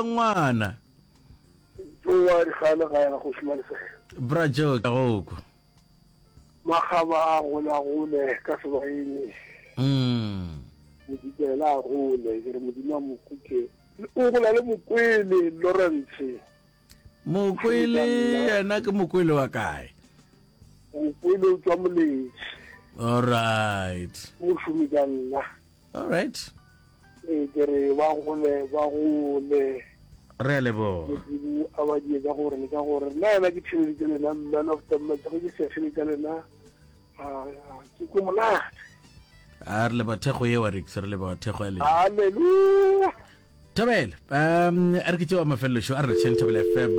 Ngwana. Joe wa dikgale ga ya kgoši Malesela. Bra Joe ka go kwa. Makgaba a golagole ka sebaeng. Mm. Modikela a gole ke re modimo a mokuke. O gola le mokwele Lawrence. Mokwele yena ke mokwele wa kae? Mokwele o tswa Moletši. All right. Mošomi ka nna. All right. Ee, ke re ba gole ba gole. Re a leboga. Modimo a ba die ka gore le ka gore nna yena ke theleditše lena man of the match ge ke sa theletša lena ke ko monate. A re leboga thekgo yeo Rex, re leboga thekgo ya lena. Hallelujah. Thobela, um a re ke tšeo mafelelo šo a re letšheng Thobela FM.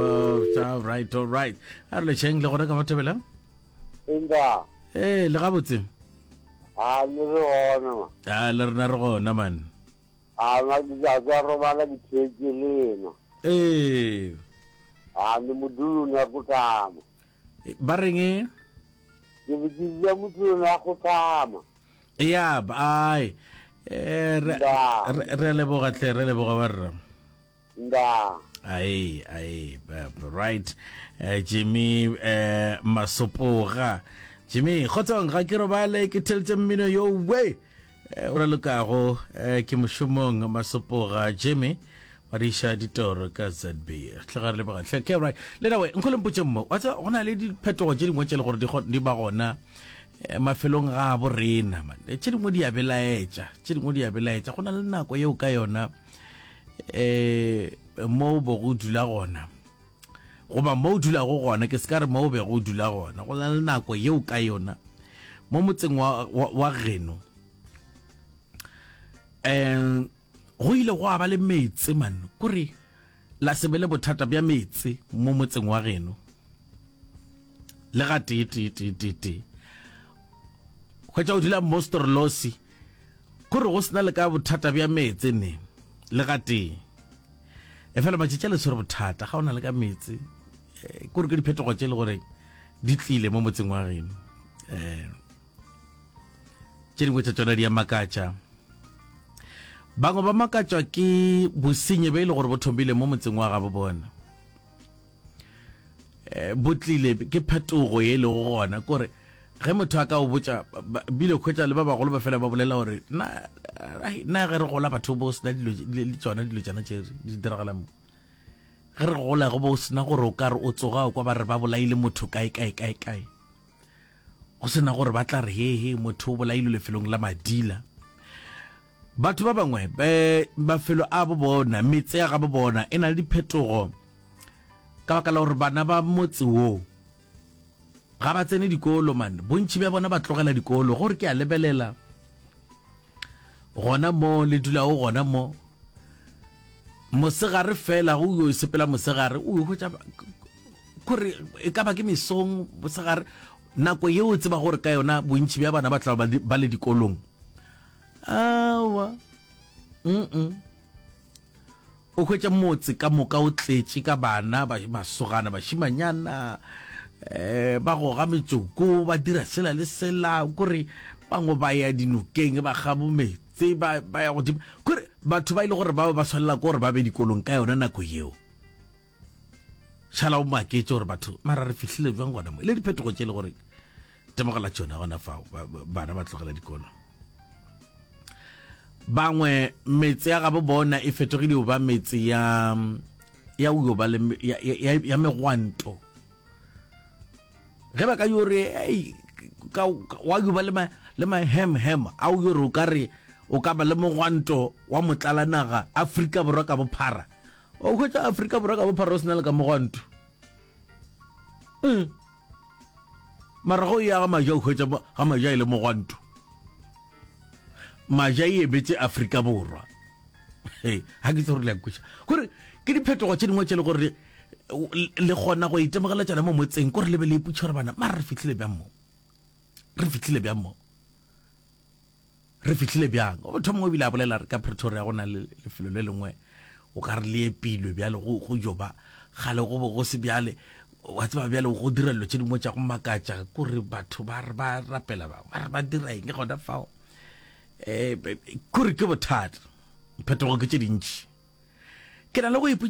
All right, all right. A re letšheng le gona ka mo Thobela? Empa. Eh, le gabotse. A le re gona ma. A le rena re gona man. A ma ke tla tswa robala ke theetše lena. Ee. A le modulo na go tama. Ba reng e? Ke be ke bua modulo na go tama. Ya, ai. Eh, re re leboga tle, re leboga ba rra. Nda. Ai, ai, right. Eh, Jimmy eh Masopoga. Jimmy, kgotsong ga ke robale ke theletše mmino yo we. Eh, o ralokago eh, ke mošomong Masopoga Jimmy badiša ditoro ka ZB. Hle ga re leboga hle. Ke right. Le nawe nkgo le mpotše mmo. Wa tseba go na le diphetogo tše dingwe tše le gore di ba gona eh, mafelong ga bo rena man. Tše dingwe di a belaetša, tše dingwe di a belaetša. Go na le nako yeo ka yona eh mo o bego o dula gona goba mo o dulago gona ke se ka re mo o bego o dula gona go na le nako yeo ka yona mo motseng wa, wa, wa geno um go ile go ba le meetse man kore la se be le bothata bja meetse mo motseng wa geno le ga tee tee tee tee tee hwetša o dula mostrolosi Kore go sena le ka bothata bja meetse ne le gatee. Efela matšatši a le tshwere bothata ga o na le ka meetse. Eh, kore ke diphetogo tše le gore di tlile mo motseng wa geno. Eh, tše dingwe tša tšona di a makatša. Bangwe ba makatšwa ke bosenyi be e le gore bo thomile mo motseng wa gabo bona. Eh, bo tlile ke phetogo ye e lego gona kore ge motho a ka o botša bile khwetša le ba bagolo ba fela ba bolela gore na na ge re gola batho bo sena dilo le tsona dilo tsona tše di diragala mo ge re gola go bo sena gore o ka re o tsoga o kwa ba re ba bolaile motho kae kae kae kae go sena gore ba tla re he he motho o bolailwe lefelong la madila Batho ba bangwe mafelo a bo bona, metse ya gabo bona e na le diphetogo ka baka la gore bana ba motse wo ga ba tsene dikolo man. Bontši bja bona ba tlogela dikolo. Gore ke a lebelela gona mo le dulago gona mo mosegare fela go yo sepela mosegare o yo hwetša kore e ka ba ke mesong mosegare nako yeo o tseba gore ka yona bontši bja bana ba tla ba le dikolong Aowa. Mm-mm. O hwetša motse ka moka o tletše ka bana, ba, masogana, bašimanyana, eh, ba goga metsoko, ba dira sela le sela, kore bangwe ba ya dinokeng, ba ga bo meetse, ba, ba ya godimo. Kore batho ba ile gore ba ba swanela ke gore ba be dikolong ka yona nako yeo. Šala o maketše gore batho mara re fihlile bjang gona mo. Le diphetogo tše le gore temogela tšona gona fao bana ba tlogela dikolo. Bangwe metse ya gabo bona e fetogile go ba metse ya ya go ba le ya, ya, ya megwanto. Ge ba ka yo re ei ka wa yo ba le ma le ma hem hem a o yo re o ka re o ka ba le mogwanto wa motlala naga Afrika Borwa ka bophara. O hwetša Afrika Borwa ka bophara o sena le ka mogwanto. Mm. Mara go ya ga maja o hwetša ga maja e le mogwanto. Maja e ebetse Afrika Borwa. Hey, ga ke tsore le a kweša. Gore ke diphetogo tše dingwe tše le gore le kgona go itemogela tšona mo motseng kore le be le ipotša gore bana mara re fihlile bjang mo. Re fihlile bjang mo. Re fihlile bjang? Motho mongwe o bile a bolela re ka Pretoria go na le lefelo le lengwe o ka re le epilwe bjale go go joba gale go bo go se bjale wa tseba bjale go dira dilo tše dingwe tša go makatša kore batho ba re ba rapela ba ba re ba dira eng gona fao um kore ke bothata phetogo ke tše dintši ke na le go ipotša.